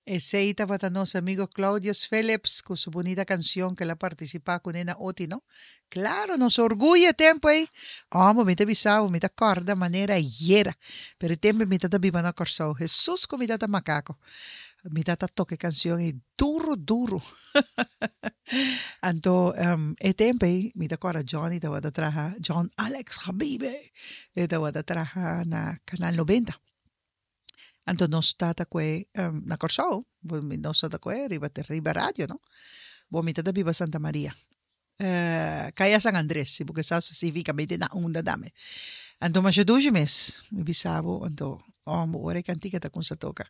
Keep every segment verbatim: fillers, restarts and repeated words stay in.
Esey tabata nos amigo Claudius Phillips cu su bunita cancion cu el a participa cu Nena Oti, no? Claro, nos orguyo e tempo ey. Amo, mi ta bisa bo, mi ta corda manera ayera. Pero e tempo mi tata biba na Corsou. Jesus cu mi tata macaco. Mi tata toca e cancion ey duro, duro. Anto, um, e tempo ey, mi ta corda Johnny tabata traha, John Alex Habibe, e tabata traha na Canal noventa. Anto nos tata kue um, na Kòrsou, nos tata kue riba, riba radio, no? Bo mi tata biba Santa Maria. Uh, Kaya San Andres, si bo sa spesífikamente na unda dame. Anto masha dushi mes, mi bisa bo, anto, oh, ora e kantika ta kuminsá toka.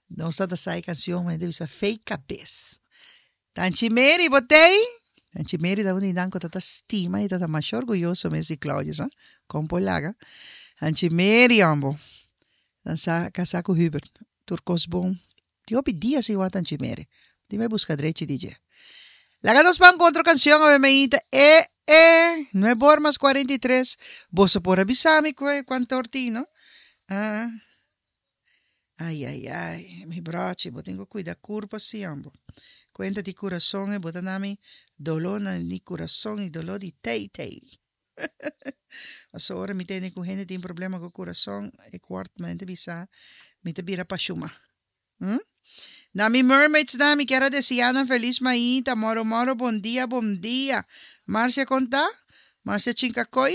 Nos tata sa e kanshon, mi bisa fei kabes. Tanchi Mary, bo t'ei? Tanchi Mary ta un di nan ku tata stima i tata masha orguyoso mes di Claudius, ha? Kon por laga. Tanchi Mary, ambo. Nan sa kasá ku Hubert. Tur kos bon. Tin hopi dia sin wak Tanchi Mary. Di mi buska drechi di dje. Laga nos ban ku otro kanshon awe mainta. E, e, nuebe or mas kuarenta i tres. Boso por a bisa mi kuantu or tin, no? Ah. Ai, ai, ai, mi brochi, bo tin ku kuida kurpa si, ambo. Kuenta di kurason e bo ta na mi doló na mi kurason i doló di tei tei. Paso ora mi tende ku hende tin problema ku kurason, e kuart mente bisa mi ta bira pashuma. Hm? Na mi mermaids na mi kier a deseá nan felis mainta, moro moro, bon dia, bon dia. Marcia konta? Marcia Chinkakoi?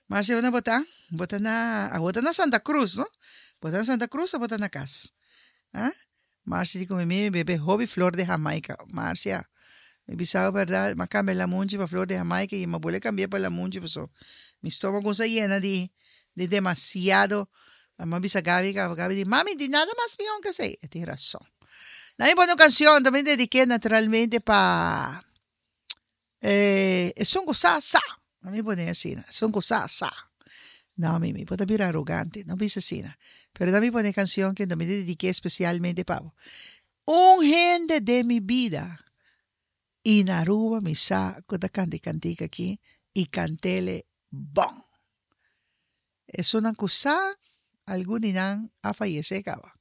Marcia, unda bo ta? Bo ta na, ah, bo ta na Santa Cruz, no? Bo ta na Santa Cruz o bo ta na kas? Ah? Marcia di ku mi mi bebe hopi flor de Jamaica. Marcia, mi bisa bo bèrdat, m'a kambia lamunchi pa flor de Jamaica i m'a bolbe kambia pa lamunchi paso mi stomago sa yena di di demasiado. M'a bisa Gabi, Gabi di, mami, di nada mas mihó ku esei. E tin rason. Na mi pone un kanshon, tambe dediké naturalmente pa eh, esun ku sa, sa. Na mi pone asina, esun ku sa, sa. No, mi, mi por ta bira arogante, no bisa asina. Pero na mi pone kanshon ku mi dediké spesialmente pa bo. Un hende den mi bida i na Aruba mi sa ku ta kanta e kantika aki i kant'é bon. Esunnan ku sa, algun di nan a fayesé kaba.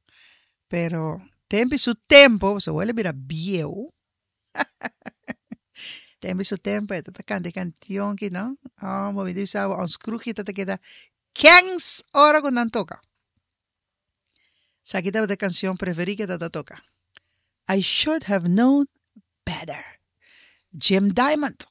Pero tempu su tempu, so el a bira bieu. Tempu su tempu, e ta kanta e kanshon aki, no? Oh, mi bisa ons kroegje ta keda kens ora ku nan toka. Esaki ta e kanshon preferí ku e ta toka. I Should Have Known Better. Jim Diamond.